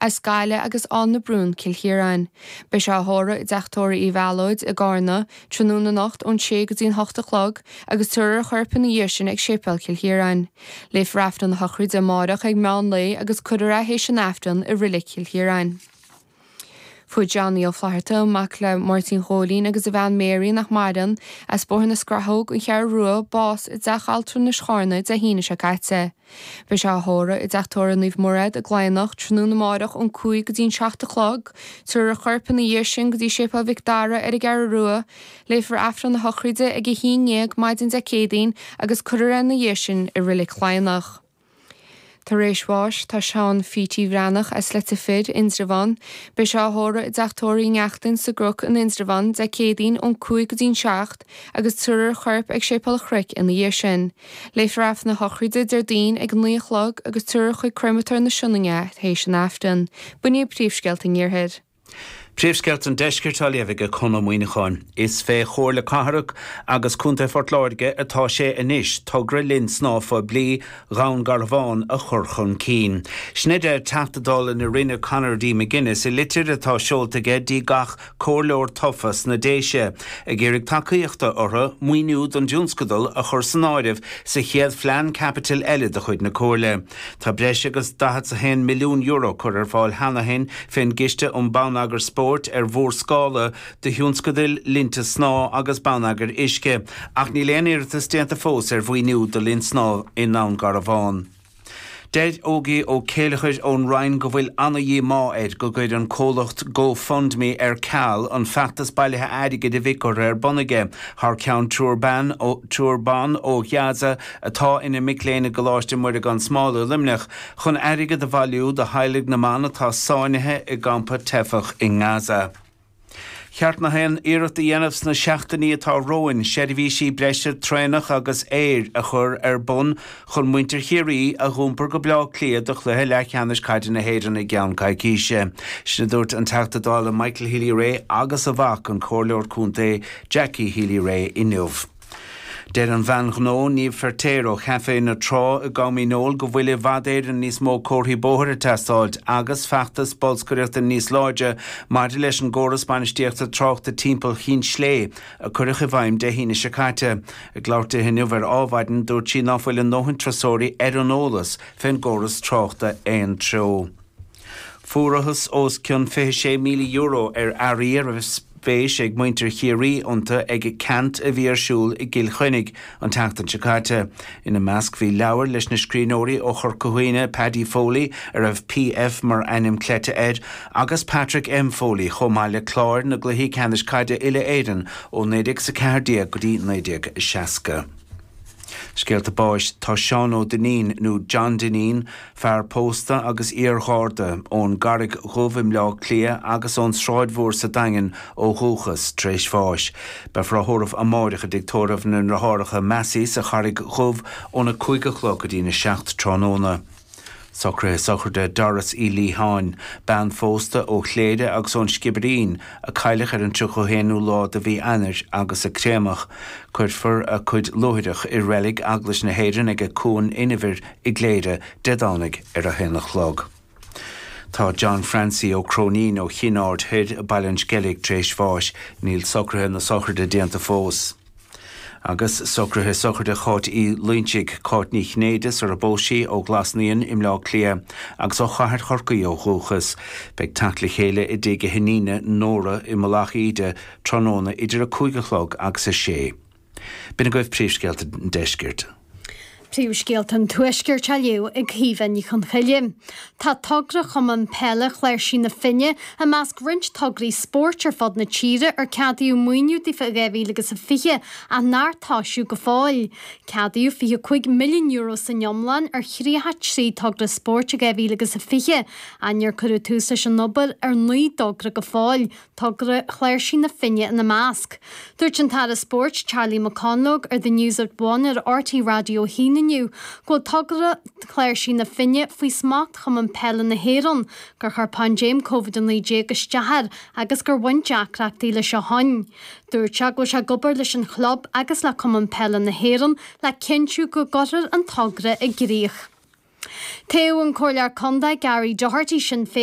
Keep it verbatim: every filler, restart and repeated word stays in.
as Gaillimh agus Áth na Brún, Cill Chiaráin. Beidh sé á thórramh i dteach tórraimh Uí Mhealóid i gCarna, tráthnóna anocht ón sé go dtí an hocht a chlog agus tabharfar a chorp ina dhiaidh sin ag Séipéal Chill Chiaráin. Léifear Aifreann na sochraide amárach ag meán lae agus cuirfear é théis an Aifrinn i Reilig Chill Chiaráin. Fuair Johnny Ó Flatharta mac le Máirtín Chóilín agus a bhean Mary nach maireann as Bóthar na Scrathóg an Cheathrú Rua bás i dteach altranais Charna Dé hAoine seo caite. Beidh sé á thórramh i dteach tórraimh Naomh Mairéad i gCladhnach tráthnóna amárach ón cúig go dtí an seacht a chlog, tabharfar a chorp ina dhiaidh sin go dtí Séipéal Mhic Dara ar an gCeathrú Rua, léifear Aifreann na sochraide ag a haon déag maidin Dé Céadaoin agus cuirfear é ina dhiaidh sin i Reilig Chladhnach. Tar éis bháis tá Seán Phítí Bhreathnach as Leitir Fir Indreabhán, Beidh sé á thórramh i dteach tórraimh Uí Neachtain sa gCnoc in Indreabhán Dé Céadaoin ón cúig go dtí an seacht agus tabharfar a chorp ag Séipéal an Chnoic ina dhiaidh sin. Léifear Aifreann na sochraide Déardaoin ag naoi a chlog agus tabharfar chuig Créamatóir na Sionainne théis an Aifrinn. B'in iad príomhscéalta an Iarthair. Príomhscéalta an Deiscirt á léamh ag Conn Ó Muíneacháin. Is fé Chomhairle Cathrach agus Contae Phort Láirge atá sé anois togra linn snámha phoiblí Dhún Garbhán a chur chun cinn. Sin a deir Teachta Dála na Rinne Conor D. McGuinness i litir atá seolta aige dtí gach comhairleoir tofa sna Déise, ag iarraidh tacaíochta orthu maoiniú don tionscadal a chur san áireamh sa chéad phlean caipitil eile de chuid na Comhairle. Tá breis agus daichead a haon milliún euro curtha ar fáil cheana féin fén gCiste um Bonneagar Spóirt ar mhórscála do thionscadail linnte snámha agus bonneagar uisce, ach níl aon iarratas déanta fós ar mhaoiniú do linn snámha i nDún Garbhán. Deir Ógie Ó Céileachair ón Rinn go bhfuil an-dhíomá air go gcuir an comhlacht GoFundMe ar ceal an feachtas bailithe airgid a bhí curtha ar bun aige thar ceann triúr ban triúr ban ó Ghaza atá ina mic léinn i gColáiste Muire gan Smál i Luimneach chun airgead a bhailiú do theaghlaigh na mban atá sáinnithe i gcampa teifeach i nGaza. Ceart na haon iarracht a dhéanamh sna seachtainí atá romhainn seirbhísí breise traenach agus aeir a chur ar bun chun muintir Chiarraí a dh'iompar go Bleá Cliath do chluiche leathcheannais caide na hÉireann i gceann coicíse. Sin a dúirt an Teachta Dála Michael Healy-Rae agus a mhac an Comhairleoir Contae Jackie Healy-Rae inniu. Deir an bhean ghnó Niamh Feirtéar ó Chaifé na Trá i gCom Dhíneol go bhfuil i bhfad Éireann níos mó comharthaí bóthair ag teastáil agus feachtas bolscaireachta níos láidre maidir leis an gcóras bainistíochta tráchta timpeall Chinn Slé a cuireadh i bhfeidhm Dé hAoine seo caite. Ag labhairt di inniu ar Adhmhaidin dúirt sí ná fuil a ndóthain turasóirí ar an eolas fén gcóras tráchta aon treo. Fuarathas os cionn fiche sé míle euro ar earraí a raibh spéis ag muintir Chiarraí iontu ag ceant a bhí ar siúl i gCill Chainnigh an tseachtain seo caite. Ina measc bhí leabhair leis na scríbhneoirí ó Chorca Dhuibhne Paddy Foley a raibh PF mar ainm cleite air agus Patrick M Foley chomh maith le cláir na gcluichí ceannais caide uile Éireann ó naoi déag a ceathair déag go dtí naoi déag seasca. Scéalta báis tá Seán Ó Duinnín nó John Dineen, fear pósta agus iar-gharda ón gCarraig Dhubh i mBleá Cliath agus ón Sráid Mhór sa Daingean ó dhúchas tar éis bháis. Beifear á thórramh amárach i dtigh tórraimh na ndeartháireacha Massey sa Charraig Dhubh óna cúig a chlog go dtí na seacht tráthnóna. Socruithe sochraide Doris Uí Liatháin, bean phósta ó Chléire agus ón Sciobairín, a cailleadh ar an tríocha haonú lá de mhí Eanáir agus a créamadh. Cuirfear a cuid luaithreach i reilig Eaglais na hÉireann ag Cuan Inbhir i gCléire Dé Domhnaigh ar a haon a chlog. Tá John Francie Ó Cróinín ó Chinn Aird Thoir Baile an Sceilg tar éis bháis, níl socruithe na sochraide déanta fós. Agus socruithe sochraide Cháit Uí Loinsigh, Cáit Ní Chinnéide sar a bpós sí ó Ghlas Naíon i mBleá Cliath agus ó Chathair Chorcaí ó dhúchas. Beidh teacht le chéile i dtigh a hiníne Nóra i Mullach Íde tráthnóna idir a cúig a chlog agus a sé. B'in agaibh príomhscéalta an deiscirt. Príomhscéalta an Tuaiscirt á léamh ag Caoimhe Ní Chonchoille. Tá togra Chumann Peile Chláirsí na Finne i measc roinnt tograí spóirt ar fud na tíre ar ceadaíodh maoiniú daofa dhá mhíle agus a fiche ach nár tosaíodh go fóill. Ceadaíodh fiche cúig milliún euro san iomlán ar thríocha trí togra spóirt i dhá mhíle agus a fiche ach níor cuireadh tús leis an obair ar naoi dtogra go fóill, togra Chláirsí na Finne ina measc. Dúirt an tAire Spóirt Charlie McConalogue ar The News at One ar RTÉ Raidió a haon inniu go bhfuil togra Chláirsí na Finne faoi smacht Chumann Peile na hÉireann, gur chuir paindéim Covid a naoi déag isteach air agus gur bhain deacrachtaí leis ó shin. Dúirt sé go bhfuil sé ag obair leis an chlub agus le Cumann Peile na hÉireann le cinntiú go gcuirfear an togra i gcrích. Toghadh an Comhairleoir Contae Gary Doherty Sinn Féin